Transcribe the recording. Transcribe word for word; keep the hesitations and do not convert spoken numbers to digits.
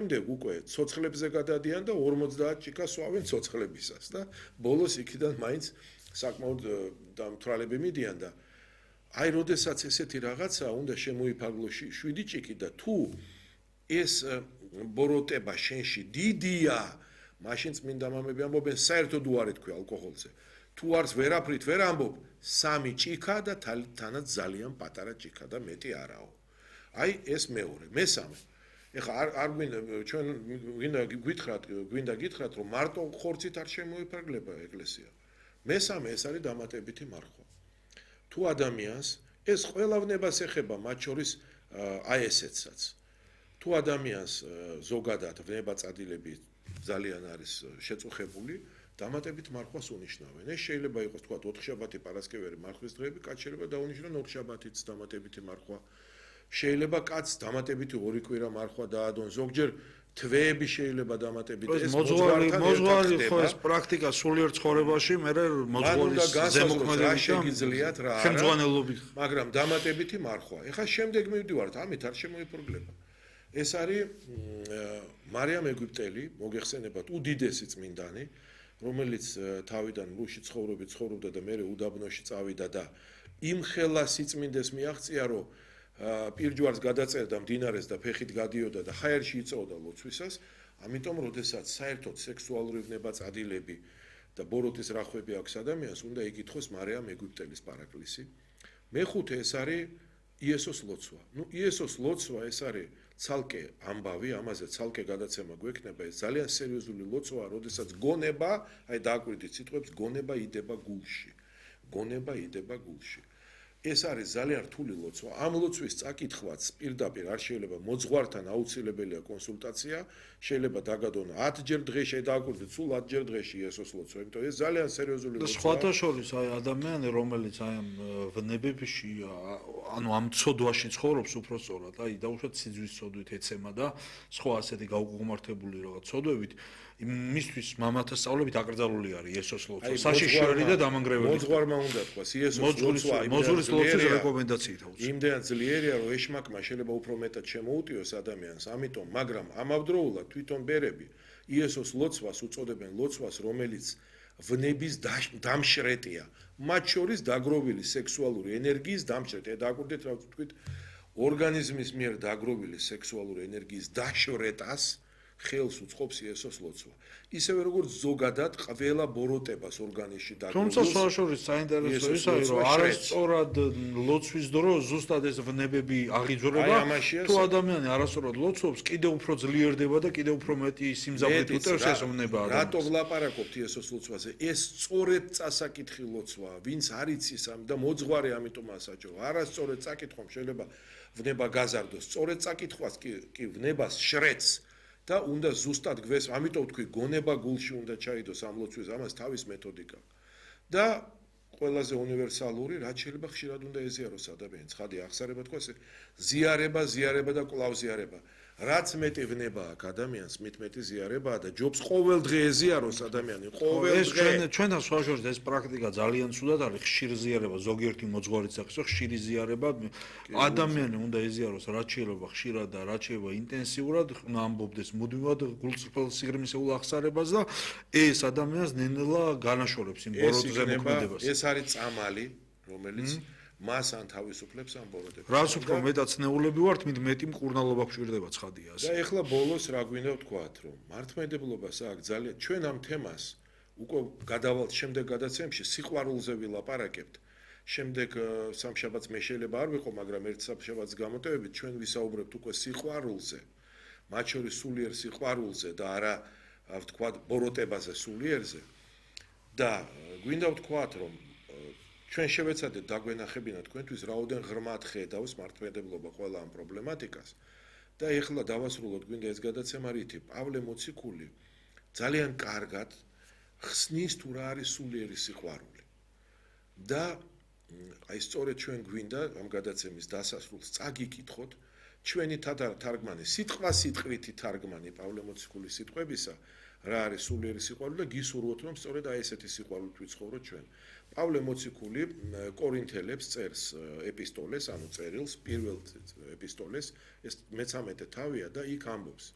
შემდეგ უკვე ცოცხლებზე გადადიან და ორმოცდაათ ჭიქა სვავენ ცოცხლებისას და ბოლოს იქიდან მაინც საკმაოდ დამთვალები მიდიან და აი როდესაც ესეთი რაღაცა უნდა შემოიფარგლო შვიდი ჭიქი და თუ ეს ბოროტება შენში დიდია მაშინ წმინდა მამები ამბობენ საერთოდ უარი თქვი ალკოჰოლზე თუ არც ვერაფრით ვერ ამბობ სამი ჭიქა და თანაც ძალიან პატარა ჭიქა და მეტი არაო აი ეს მეორე მესამე ეხლა არ არ ჩვენ გვინდა გითხრათ გვინდა გითხრათ რომ მარტო ხორცით არ შემოიფარგლება ეკლესია მესამე ეს არის დამატებითი მარხვა თუ ადამიანს ეს ყველავნებას ეხება მათ შორის აი ესეცაც თუ ადამიანს ზოგადად ვნება წადილები ძალიან არის შეწუხებული დამატებით მარხვას უნიშნავენ ეს შეიძლება იყოს თქვა ოთხშაბათი პარასკევერი მარხვის დღეები კაც შეიძლება დაუნიშნონ ოთხშაბათიც დამატებითი მარხვა შეიძლება კაც დამატებითი ორი კვირა მარხვა დაადონ ზოგჯერ თვეები შეიძლება დამატებით ეს მოძღვართან მოძღვარი ხო ეს პრაქტიკა სულიერ ცხოვრებაში მე მოძღვარის ზემოქმედებით შეგიძლიათ რა არა ხელმძღვანელობით მაგრამ დამატებითი მარხვა ეხლა შემდეგ მივდივართ ამით არ შემოიფრგლება ეს არის მარიამ ეგვიპტელი მოგეხსენებათ უდიდესი წმინდანი რომელიც თავიდან ლუში ცხოვრობი ცხოვრობდა და მე უდაბნოში წავიდა და იმ ხელა სიწმინდეს მიაღწია რომ პირჯვარს გადაწერდა მდინარეს და ფეხით გადიოდა და ხაერში იწოვდა ლოცვისას ამიტომ როდესაც საერთოდ სექსუალური ვნება წადილები და ბოროტის რახვები აქვს ადამიანს უნდა იკითხოს მარიამ ეგვიპტელის პარაკლისი მეხუთე ეს არის იესოს ლოცვა ნუ იესოს ლოცვა ეს არის ცალკე ამბავი ამაზე ცალკე გადაცემა გვექნება ეს ძალიან სერიოზული ლოცვაა როდესაც გონება აი დააკვირდით სიტყვებს გონება იდება გულში გონება იდება გულში ეს არის ძალიან რთული ლოცვა. ამ ლოცვის წაკითხვაც პირდაპირ არ შეიძლება მოძღვართან აუცილებელია კონსულტაცია, შეიძლება დაგადონ ათჯერ დღეში დააკვირდეთ სულ ათჯერ დღეში ესოს ლოცვა, იმიტომ ეს ძალიან სერიოზული ლოცვაა. სხვათა შორის აი ადამიანი რომელიც აი ამ ვნებებში ანუ ამ ცოდვაში ცხოვრობს უფრო სწორად, აი დაუშვათ სიძვის ცოდვით ეცემა და სხვა ასეთი გაუგუმართებული რაღაც ცოდვებით მისთვის მამათა სწავლებით აკრძალული არის იესოს ლოცვა. საშიშველი და დამანგრეველი. მოძღვარმა უნდა თქვას იესოს ლოცვა. მოძღვრის ლოცვის რეკომენდაციით აუცილებლად. იმდენად ძლიერია რომ ეშმაკმა შეიძლება უფრო მეტად შემოუტიოს ადამიანს, ამიტომ, მაგრამ ამავდროულად თვითონ ბერები იესოს ლოცვას უწოდებენ ლოცვას, რომელიც ვნების დამშრეტია. მათ შორის დაგროვილი სექსუალური ენერგიის დამშრეტია. დააკვირდეთ რა ვთქვით, ორგანიზმის მიერ დაგროვილი სექსუალური ენერგიის დაშრეტას ხელს უწყობს იესოს ლოცვა. ისევე როგორც ზოგადად ყველა ბოროტებას ორგანიზმში დაგროვს. თუმცა საშუალებით საინტერესო ის არის, რომ არასწორად ლოცვის დრო ზუსტად ეს ვნებები აღიძვრება. თუ ადამიანი არასწორად ლოცობს, კიდევ უფრო ძლიერდება და კიდევ უფრო მეტი სიმძაფრით უტევს ეს ვნება ადამიანს. რატო ვლაპარაკობთ იესოს ლოცვაზე? ეს სწორედ წასაკითხი ლოცვაა. ვინც არ იცის ამ და მოძღვარი ამიტომ ასაჭო. არასწორად წაკითხვა შეიძლება ვნება გაზარდოს. სწორედ წაკითხვას კი კი ვნებას შრეც. და უნდა ზუსტად გვეს, ამიტომ თქვი გონება გულში უნდა ჩაიდოს ამ ლოცვის, ამას თავის მეთოდიკა. და ყველაზე უნივერსალური, რაც შეიძლება ხშირად უნდა ეზიაროს ადამიანს, ხადი ახსარება თქვა, ზიარება, ზიარება და კვლავ ზიარება. რაც მეტი ვნება აქვს ადამიანს, მით მეტი ზიარებაა და ჯობს ყოველ დღე ეზიაროს ადამიანი, ყოველ დღე. ეს ჩვენ ჩვენთან საშუალებით ეს პრაქტიკა ძალიან ცუდად არის, ხშირ ზიარება, ზოგიერთი მოძღვარიც აქვს, ხშირი ზიარება, ადამიანი უნდა ეზიაროს რაც შეიძლება ხშირად და რაც შეიძლება ინტენსიურად, უნდა ამბობდეს მუდმივად გულწრფელ სიღრმისეულ ახსარებას და ეს ადამიანს ნენელა განაშორებს იმ ბოროტზე მოქმედებას. ეს არის წამალი, რომელიც მას ან თავისუფლებს ამ ბოროტებას. რაც უფრო მეტად ცნეულები ვართ, მით მეტი მკურნალობა გვჭირდება ცხადია ასე. და ეხლა ბოლოს რა გვინდა ვთქვათ, რომ მართლმადიდებლობას აქვს ძალიან ჩვენ ამ თემას უკვე გადავალთ შემდეგ გადაცემში სიყვარულზე ვილაპარაკებთ. შემდეგ სამშაბათს მე შეიძლება არ ვიყო, მაგრამ ერთ სამშაბათს გამოტევებით ჩვენ ვისაუბრებთ უკვე სიყვარულზე. მათ შორის სულიერ სიყვარულზე და არა ვთქვათ ბოროტებაზე სულიერზე. და გვინდა ვთქვათ, რომ ჩვენ შევეცადეთ დაგვენახებინა თქვენთვის რაოდენ ღრმად ხედავს მართლმადიდებლობა ყველა ამ პრობლემატიკას და ეხლა დავასრულოთ გვინდა ეს გადაცემა რითი პავლე მოციქული ძალიან კარგად ხსნის თუ რა არის სულიერი სიყვარული და აი სწორედ ჩვენ გვინდა ამ გადაცემის დასასრულს წაგიკითხოთ ჩვენი თარგმანი სიტყვა სიტყვითი თარგმანი პავლე მოციქულის სიტყვებისა რა არის სულიერი სიყვარული და გისურვოთ რომ სწორედ აი ესეთი სიყვარულით ვიცხოვროთ ჩვენ პავლე მოციქული კორინთელებს წერს ეპისტოლეს ანუ წერილს პირველ ეპისტოლეს ეს მეცამეტე თავია და იქ ამბობს